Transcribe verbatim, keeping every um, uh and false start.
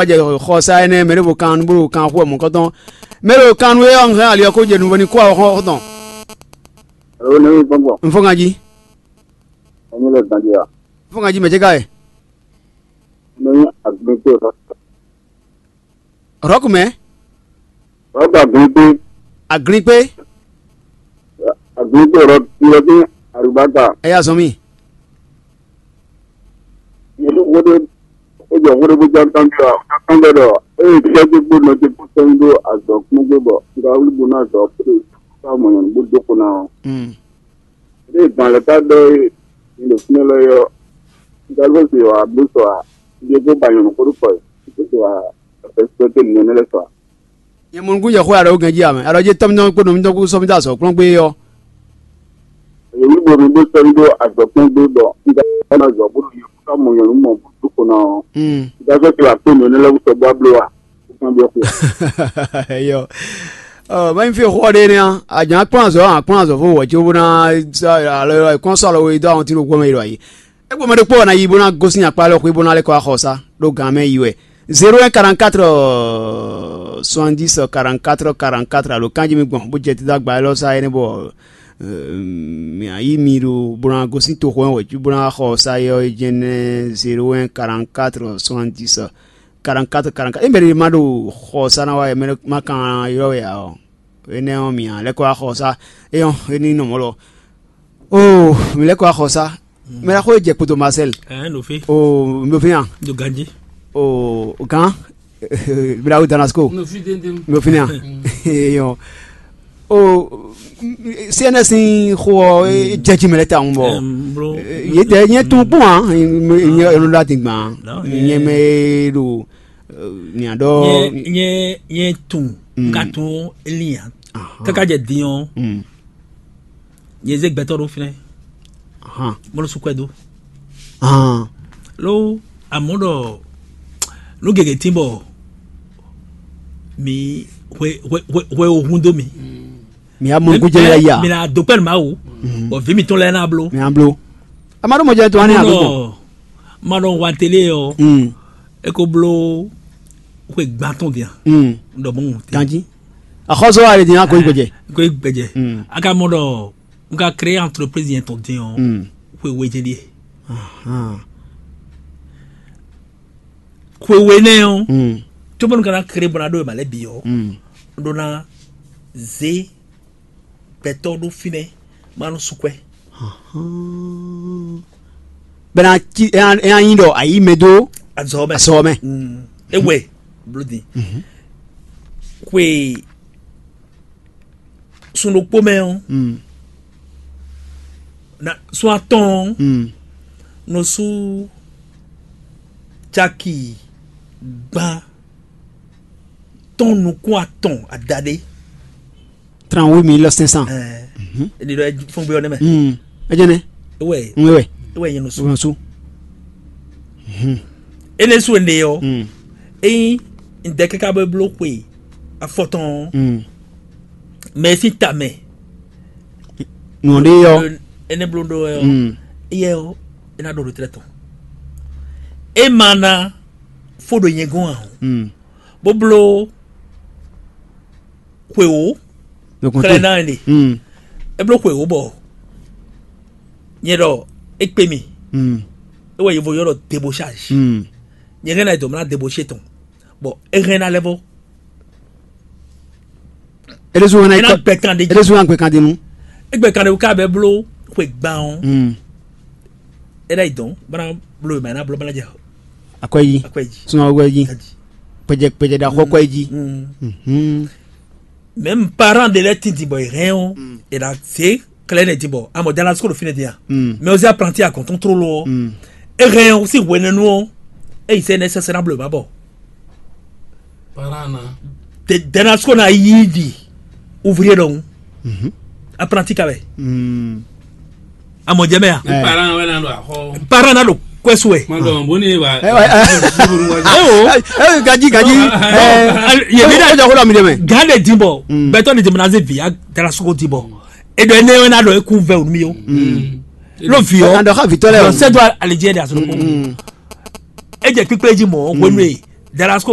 jɛ xɔ sa énɛ́ mɛ ɖěvo kan bó ɖo kan xú wɛ mɔ̌kɔtɔn. Mɛ ɖo kan nú é ɔ́, un hɛn ali ɔ́ kó jɛ nuvɔ ní kú awɔ xɔ́ntɔn. Alo, ne mi gbɔgbɔ. Un fɔ ganjí. Ɛni lɛ gbandi a? Un fɔ ganjí mɛ jɛ ká yɛ. Ne agbɛngbɛ. Rɔku mɛ. Rɔku agbɛngbɛ. Agbɛngbɛ. Agbɛngbɛ rɔku yɛ bí arubata. Ɛ yà zɔn mi. Yɛlɛ wo ɖe, e jɔ wo ɖe bó ján tán bí wa, ká kán bɛ ɖɔ, eye fífá dé gbó nɔ dé kó sɛn ɖó azɔ̌ kún gbé bɔ, nga wlí bó ná azɔ̌ kó ɖo ká mɔ nyɔ̌nu bó dó kó ná ɔ́. Mm. Ɖé gbɔn lɛ ká ɖɔ é, ní ɖo fínɛ́ lɔ é ɔ́, nga ló se wa bló sɔ a, ɖé kó ba nyɔ̌nu kó ɖó kɔ é, kó se wa fɛsitɔ́ nɛnɛ lɛ sɔ a. Nyɛ mɔ nukún jɛ xó ya ɖo gɛn jí amɛ. Alɔ jɛ tɔmjɔ kpo nɔ mi dɔ kú sɔ mi da azɔ̌ kplɔ́n gbé ɔ́. Èyí bo mi bó sɔ́ mi ɖó azɔ̌ kplɔ́n gbé bɔ un ka ná azɔ̌ bó ɖo yě kú ká mɔ nyɔ̌nu mɔ bó dó kpo ná ɔ́. Mm. Un ka sɔ́ te wá kpé nǔ énɛ́ lɛ́ɛ wú sɔ́ bó wá bló a? Ó kán byɔ́ xwe. Eyɔ. Ɔ, mɛ fi xɔ ɖe nɛ a, àjàn kplɔ́n azɔ̌, àkplɔ́n azɔ̌ fó wɔ tso bó ná alɔ kplɔ́n sɔ alɔ we dó àwọn tí ló gbɔmɛ yi lɔ yi. Egbɔ mɛ ɖokpó ɔ́ ná yi bó ná gosín akpá lɔ xwé bó ná lɛ́ kɔ wá xɔ sá ɖó gan mɛ yi wɛ. Zéro un quarante-quatre soixante-dix quarante-quatre quarante-quatre alo kanjí mi gbɔn bó jɛ títí agba élɔ́ sá é nɛ́ bɔ mǐ yí mi ɖo bó ná gosín toxo ɔ́ wɛ cí bó ná xɔ sá é ɔ́ é jɛ́n nɛ́ zéro un quarante-quatre soixante-dix quarante-quatre quarante-quatre. É mɛ ɖé ma ɖo xɔ sá ná wá é mɛ má kan ylɔ́ wɛ ǎ ɔ́. Énɛ́ ɔ́, mǐ ná lɛ́ kɔ wá xɔ sá. É ɔ́, é ní nɔ mɔ̌ lɔ. Oo, mǐ lɛ́ kɔ wá xɔ sá. Mɛ ɖaxó e jɛ kpoto Marcel. Ɛɛ, ɖo fí. Oo, mi ɖo fí nya. Ɖo ganjí. Oo, gán. Bla wo Damasco. Mi ɖo fí tɛntɛn. Mi ɖo fí nya. Eyɔn. Oo, C N S sín xó ɔ́, é jɛ jí mɛ lɛ́ tawun bɔ. Ɛɛ, blo. Yě tɛ nyɛ tún kpɔn a, nyɛ ɛlò ɖo ati gbɔn. Non, nyɛ mɛ ɖo. Nya ɖɔ. Nyɛ nyɛ nyɛ tún. Mm. Ka tún. Elian. Ahan. Kaka jɛ din ɔ́. Mm. Nyɛ zé gbɛtɔ ɖo fínɛ. Ahan. Mɔlɔ su kwɛ do. Ahan. Lo amɔ ɖɔ nu gege tin bɔ mi hwe hwe hwe hwe ohun do mi. Mi amɔ gujɛ la ya. Mi na do pɛn ma wo. Mm. Bɔ vi mi tɔn lɛ na blo. Mi ablo. Ama ɖo mɔdze to ani agbɔn. Ma ɖɔ wa télé ɔ. Mm. E ko blo xwe gbãtɔn dia. Mm. Ɖɔ mɔ. Ganji. Axɔzɔ wa le din ako igbɛjɛ. Ko igbɛjɛ. Mm. A ka mɔ ɖɔ n ka créer entreprise yẹn tɔn din ɔ. Mm. Xwe we jɛ die. Ahan. Xwe we nɛ ɔ. Mm. Tó bɔ n ka na créer bɔ na ɖo ma lɛ bi ɔ. Mm. N ɖo na zé gbɛtɔ ɖo fínɛ ma nɔ su kwɛ. Bɛna ci ɛ ɛ anyi ɖɔ ayi mɛ do. Azɔ mɛ. Azɔ mɛ. Mm. Ewɛ blodi. Mhm. Xwe sun ɖokpó mɛ ɔ. Mm. Na sun atɔn ɔ. Mm. Nɔ su caki gban tɔn nukún atɔn adaɖé. Trente-huit mille cinq cents. Ɛɛ. Mhm. Eɖi ɖɔ fɔn gbé ɔnɛ mɛ. Mm. Ejene. Ewɛ. Ŋwe wɛ. Ewɛ yẹn nɔ su. Ŋwe su. Mhm. Ene su ene yɔ. Mm. Eyin n dɛ kaka bɛ blo xwe afɔtɔn. Mm. Mɛ si ta mɛ. Nɔ ɖe yɔ. Ene blo ɖo yɔ. Mm. Eyɛ o. Ena ɖo ɖo tɛtɛ tɔn. E ma na fo ɖo nyɛ gɔn ahun. Mm. Bó bló xwe wǒ. Xlɛ ná ɛnɛ. Mm. É bló xwe wǒ bɔ nyɛ ɖɔ é kpé mi. Mm. É wɛ yevo ylɔ́ ɖɔ debochage. Mm. Nyɛ hɛn ná dɔ̌n mlá deboché tɔn. Bɔ é hɛn ná lɛ́ vɔ. Eɖésú wọn ena gbɛ kan ɖe. Eɖésú wọn gbɛ kan ɖe nu. Égbɛ kan ɖe wò ká bɛ bló xwe gban ɔ́. Mm. É ɖo yi dɔn bana bló yi ma ná bló bana jɛ. Akwɛyi. Akwɛyi. Suma akwɛyi. Kpɛjɛ kpɛjɛ ɖe axɔ akwɛyi. Mm. Mhm. Même parent de lɛ ti di bɔ yi hɛn o. Mm. E ɖa se klɛ ne di bɔ amɔ dala sukulu fi ne di ya. Mm. Mais aussi apprenti à contrôle o. Mm. E hɛn o si hwenɛnu o. E yi se ne sɛsɛ na bló yi ma bɔ. Parana. Dɛnɛ sɔgɔ na yi di ouvrier ɖɔhun. Mhm. Apprenti ka bɛ. Mm. Amɔ jɛ mɛ ya. Ɛ. Parana wɛ na do axɔ. Parana do kwɛsu wɛ. Ma dɔn bo ni ba. Ɛ, ɛ, ɛ. Ayo. Ɛ, ɛ, gaji gaji. Ɛ. Yɛ mi da jɔ ko la mi de mɛ. Gan de di bɔ. Mm. Bɛtɔ ni di mɛ na se vi a dara sɔgɔ di bɔ. E dɔ ne wɛ na dɔ e kun vɛ o mi o. Mm. Lo vi o. Kan dɔ ka vitɔ lɛ o. Sɛ do alijɛ de asɔrɔ ko. Mm. E jɛ kpikpe ji mɔ o ko nu ye. Dalasko